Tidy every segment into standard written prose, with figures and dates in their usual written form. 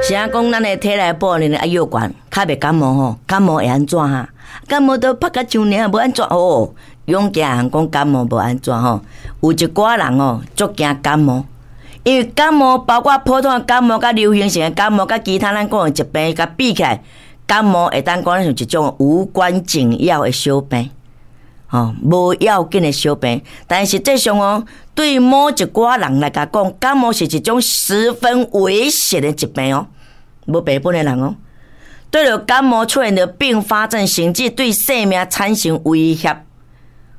是按講咱的體內保能愛藥懸，較袂感冒吼，感冒會按怎哈？感冒都拍甲像爾，無按怎哦。勇健人講感冒無按怎吼，有一寡人哦，足驚感冒，因為感冒包括普通的感冒、佮流行性的感冒、佮其他咱講的疾病，共比起來，感冒會當講像一種無關緊要的小病，吼，無要緊的小病。但實際上哦，對某一寡人來講，感冒是一種十分危險的疾病哦。無病本的人哦，對著感冒出現著併發症，甚至對生命產生威脅。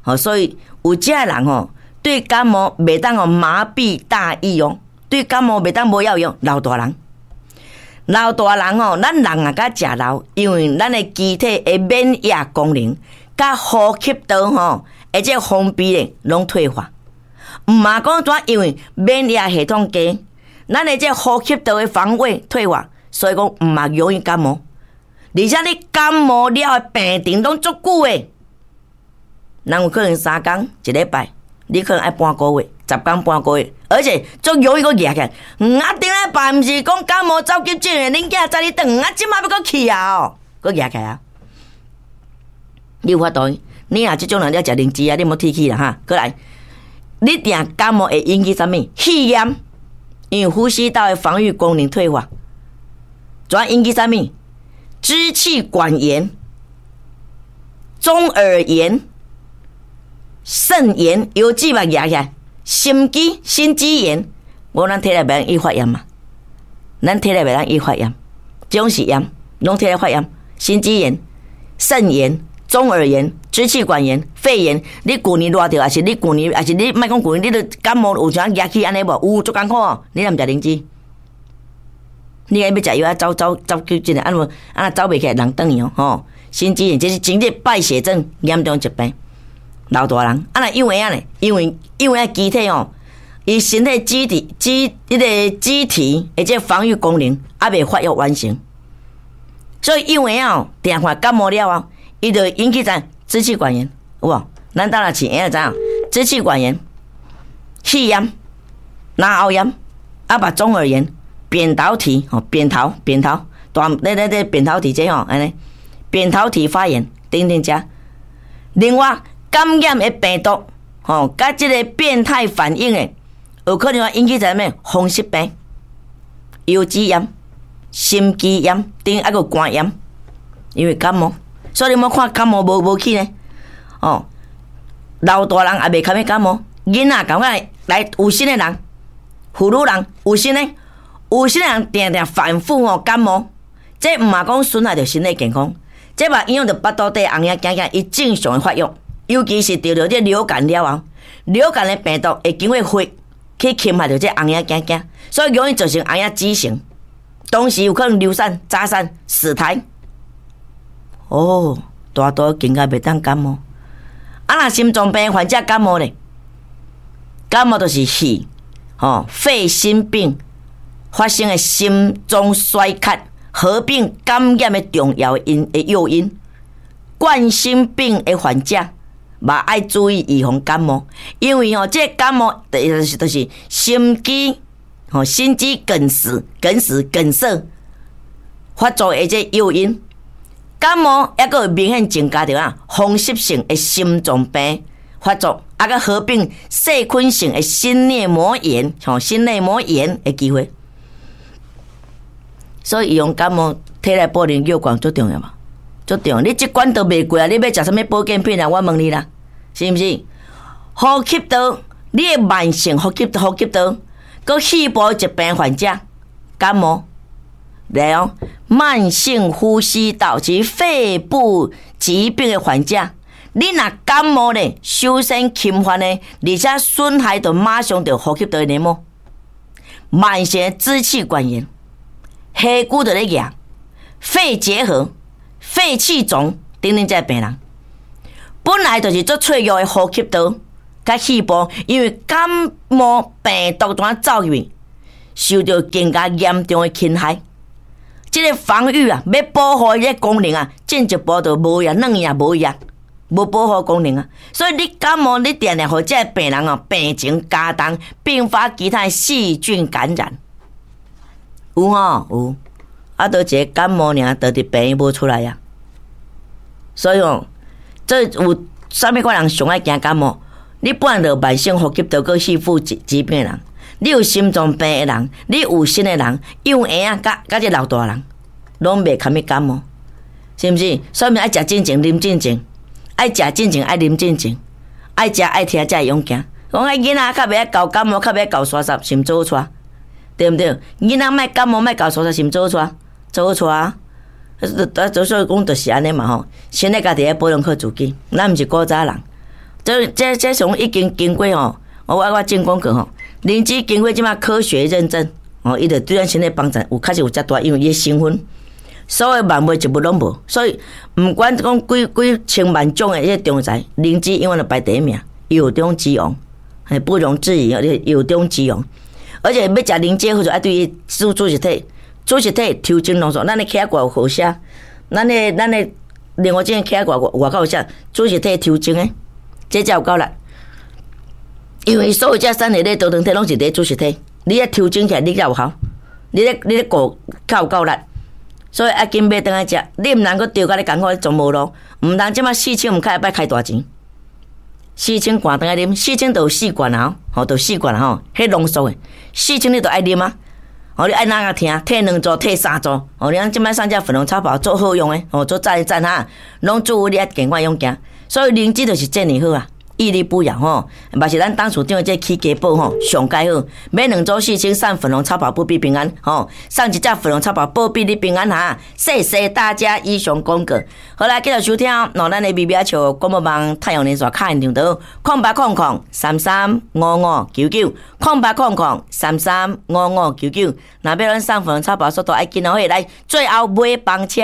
吼，所以有遮人吼，對感冒袂當予麻痹大意哦，對感冒袂當無藥用。老大人，老大人吼，咱人啊較食老，因為咱的機體的免疫功能，佮呼吸道吼，而且封閉咧攏退化。毋嘛講怎，因為免疫系統低，咱的這呼吸道的防衛退化。所以講毋嘛容易感冒，而且你感冒了的病程攏足久的，人有可能3工一禮拜，你可能愛半個月、10工半個月，而且足容易閣惹起來。啊，頂禮拜毋是講感冒走急診的，恁囝載你轉，啊，這擺欲閣去啊哦，閣惹起來啊！你有法度？你若這種人，你愛食靈芝啊，你莫鐵齒啦哈。閣來，你定感冒會引起啥物？肺炎，因為呼吸道的防禦功能退化。主要引起啥物？支氣管炎、中耳炎、腎炎、腰子嘛舉起來，心肌心肌炎。無咱體內袂當易發炎嘛？咱體內袂當易發炎，這種是炎，攏體內發炎。心肌炎、腎炎、中耳炎、支氣管炎、肺炎。你舊年熱著，抑是你舊年，抑是你莫講舊年，你著感冒有啥舉起按呢無？有足艱苦哦，你若毋食靈芝？你愛欲食藥啊？走走走急診啊？按怎啊？走袂起來，人轉去哦，吼！心肌炎這是真正敗血症嚴重疾病，老大人啊，若幼嬰仔呢？因為幼嬰機體吼，伊身體機體機彼個機體的這防禦功能猶未發育完成，所以幼嬰仔哦，定看感冒了後，伊就引起啥支氣管炎，有無？咱當若飼嬰仔知影，支氣管炎、肺炎、咽喉炎，啊，嘛中耳炎。扁桃體吼，扁桃扁桃大，咧咧咧扁桃體這吼，按呢，扁桃體發炎等等遮。另外，感染的病毒吼，佮這個變態反應的，有可能會引起啥物風濕病、腰子炎、心肌炎等，猶閣肝炎，因為感冒，所以你莫看感冒無無去呢，哦，老大人也袂較欲感冒，囡仔感覺來有身的人，婦女人有身的。有些人定定反覆吼感冒，這毋嘛講損害著身體健康，這嘛影響著腹肚底紅仔囝囝伊正常的發育，尤其是得著這流感了後，流感的病毒會經過血去侵害著這紅仔囝囝，所以容易造成紅仔畸形，同時有可能流產、早產、死胎。哦，大肚更加袂當感冒。啊，若心臟病患者感冒咧，感冒就是肺吼肺心病。發生的心臟衰竭合併感染的重要因的誘因，冠心病的患者嘛愛注意預防感冒，因為吼這個感冒就是心肌吼心肌梗死、梗死、梗塞發作的這誘因。感冒抑閣會明顯增加著啊風濕性的心臟病發作，啊閣合併細菌性的心內膜炎吼心內膜炎的機會。所以預防感冒，體內保能藥罐足重要嘛，足重要。你這關都袂過啊，你欲食啥物保健品啊？我問你啦，是毋是？呼吸道，你的慢性呼吸道，閣肺部疾病患者感冒，來哦，慢性呼吸道及肺部疾病的患者，你若感冒咧，首先侵犯的，而且損害就馬上就呼吸道的黏膜，慢性的支氣管炎。氣管就咧舉，肺結核、肺氣腫等等，這病人本來就是足脆弱的呼吸道佮肺部，因為感冒病毒怎走入去，受著更加嚴重的侵害。這個防禦啊，欲保護這個功能啊，進一步就無呀，軟呀，無呀，無保護功能啊。所以你感冒，你定定予這個病人哦，病情加重，併發其他細菌感染。有吼有，啊，都一个感冒爾，就佇病院無出來啊。所以吼，這有啥物款人上愛驚感冒？你本來就慢性呼吸道閣肺部疾病的人，你有心臟病的人，你有身的人，幼嬰仔佮佮這老大人，攏袂堪物感冒，是毋是？所以愛食進前，啉進前，愛食進前，愛啉進前，愛食愛聽才會勇健。講啊，囡仔較袂愛𠢕感冒，較袂愛𠢕沙虱，是毋做好帶？對毋對？囡仔莫感冒，莫𠢕沙虱，是毋做好帶？做好帶啊！啊，所以講就是按呢嘛吼，先咧家己愛保養好自己，咱毋是古早人。這從已經經過吼，我進廣告吼，靈芝經過這馬科學認證，哦，伊就對咱身體幫助有確實有遮大，因為伊的成分，所有萬物一物攏無，所以毋管講幾幾千萬種的這個中藥材，靈芝永遠都排第一名，藥中之王，係不容置疑，藥中之王。而且欲食靈芝，好處愛對伊子實體，子實體抽精濃縮，咱的起仔外好寫，咱的另外這個起仔外口有寫子實體抽精的。這才有夠力，因為所有這三個咧多糖體攏是佇子實體，你愛抽精起來，你才有效，你咧顧較有夠力，所以愛緊買轉來食，你毋通閣著甲你艱苦咧全無路，毋通這馬4千毋開擺開大錢，四千罐轉來啉，四千就有四罐啊，吼，就四罐吼，彼濃縮的，四千你就愛啉啊，哦，你愛哪個聽，退兩組，退三組，哦，你講這擺上這粉紅草包做好用的，哦，做讚讚哈，攏祝你愛健康勇健。所以靈芝就是這爾好啊，屹立不搖吼，嘛是咱董事長這起家寶吼，上蓋好。買兩組四千送粉紅草包保庇平安吼，送一隻粉紅草包保庇你平安哈。謝謝大家以上廣告。好來，繼續收聽哦，咱的微微笑廣播網太陽連線卡現場的08003355990800335599。若欲咱送粉紅草包速度愛緊哦，來最後尾班車。